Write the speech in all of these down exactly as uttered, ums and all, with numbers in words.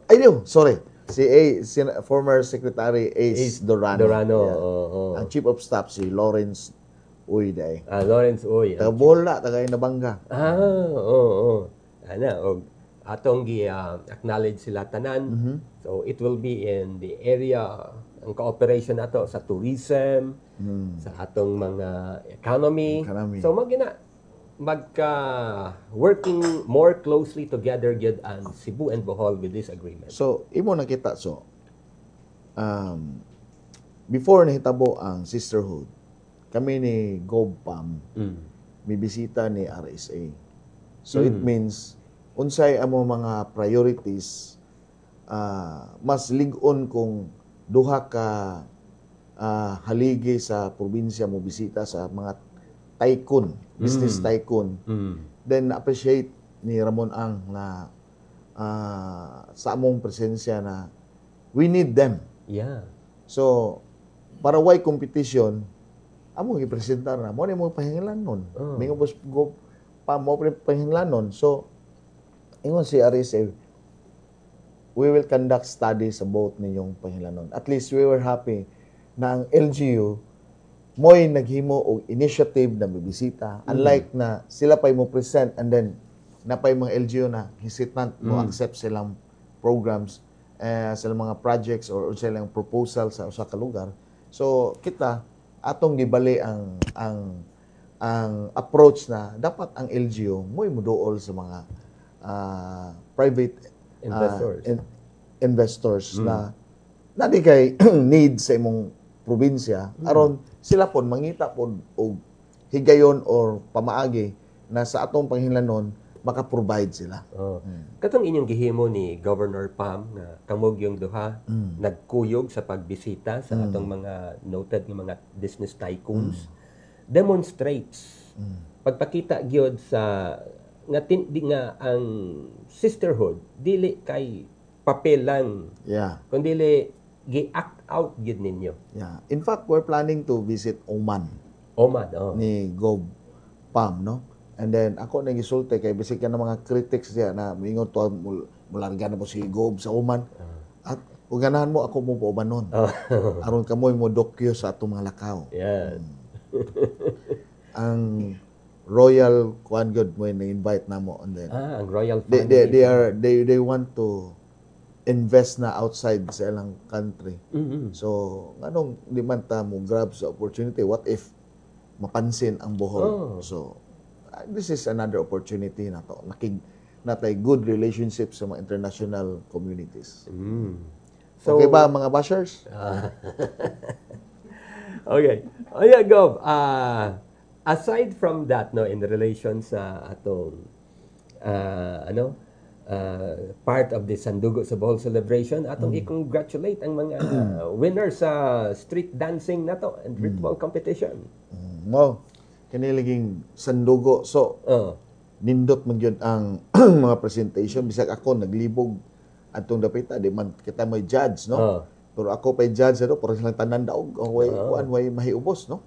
Ay, no, sorry. Si A, si former Secretary Ace, Ace Dorano. Dorano, Yeah. oo, oo. Ang Chief of Staff si Lawrence Uy diay. Ah, Lawrence Uy. Taga Bola, taga Inabanga. Ah, oo, oo. Ana, og atong gi ah, acknowledge sila tanan. Mm-hmm. So it will be in the area ang cooperation nato sa tourism, sa atong mga economy. Mm. Economy. So mao gina magka working more closely together gyud ang Cebu and Bohol with this agreement. So, imo nakita so um, before nahitabo ang sisterhood, kami ni GovPam Mm. may bisita ni R S A. So it means unsay amo mga priorities, ah, mas lig-on kung duha ka ah, haligi sa probinsya mo bisita sa mga tycoon, business tycoon. Mm. Then appreciate ni Ramon Ang na ah, sa among presensya na we need them. Yeah. So, para way competition, amo gipresentar na mao ni mo pahinglanon. Oh. Mingon pos go pa mo pre pahinglanon. So, ingon si R S A, we will conduct studies about ninyong pahinglanon. At least we were happy na ang L G U mo'y naghimo og initiative na mibisita. Unlike na sila pa'y mo present and then napay mga L G U na hesitant mo accept silang programs, eh, silang mga projects or silang proposal sa usa ka lugar. So kita atong gibali ang ang ang approach na dapat ang L G U mo'y muduol sa mga ah, private ah, Investors. in- investors na na di kay need sa imong probinsya aron sila pon mangita pod og higayon or pamaagi na sa atong panghinlanon maka-provide sila. Oh. Katong inyong gihimo ni Governor Pam nga kamo gyung duha nagkuyog sa pagbisita sa atong mga noted nga mga business tycoons demonstrates pagpakita gyud sa nga tin, di nga ang sisterhood dili kay papel lang Yeah. kundi gi-act out gyud ninyo. Yeah. In fact, we're planning to visit Oman Oman, oh. ni Gov Pam, no? And then ako nang gisulti kay bisig ka ng mga critics diya na moingon to mul- mularga na po si Gov sa Oman. At kung ganahan mo ako mo paubanon. Oh. Aron kamoy mo dokyo sa atong mga lakaw. Yan. Ang Royal kuan gud mo na-invite namo and then Ah, ang royal they, family. they, they are they they want to invest na outside sa ilang country. Mhm. So, nganong di man ta mo grab sa opportunity? What if mapansin ang Bohol? Oh. So, uh, this is another opportunity na to. Nakig natay good relationship sa mga international communities. Mm. So, Okay ba, mga bashers? Okay. Oh yeah, Gov. Ah, aside from that, no, in relation sa atong ah, ano, ah, part of the Sandugo sa Bohol celebration, atong i-congratulate ang mga winner sa street dancing nato and ritual competition. Mm, Mo, kini laging sandugo. So, Oh. nindot man gyud ang mga presentation. Bisag ako naglibog atong dapita, di man kita may judge, no? Oh. Pero ako pay judge ano, pero silang tanan daog, ang way kuan, way mahiubos, no?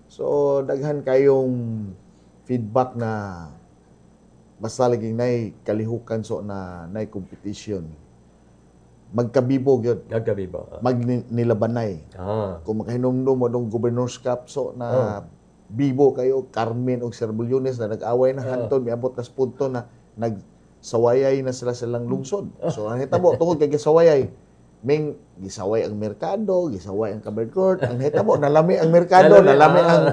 So daghan kayong feedback na basta laging nay kalihukan, so na nay competition. Magkabibo gyud, Nagkabibo. Ah. magnilabanay. Ah. Kung makahinumdum mo dong Governor's Cup so na bibo kayo Carmen og Serbulones na nag-away na hantod miabot na sa punto na nagsawayay na sila silang lungsod. So ang hitabo tungod kay gisawayay, ming gisaway ang merkado, gisaway ang covered court, ang hitabo nalami ang merkado, Nalami, nalami ah. ang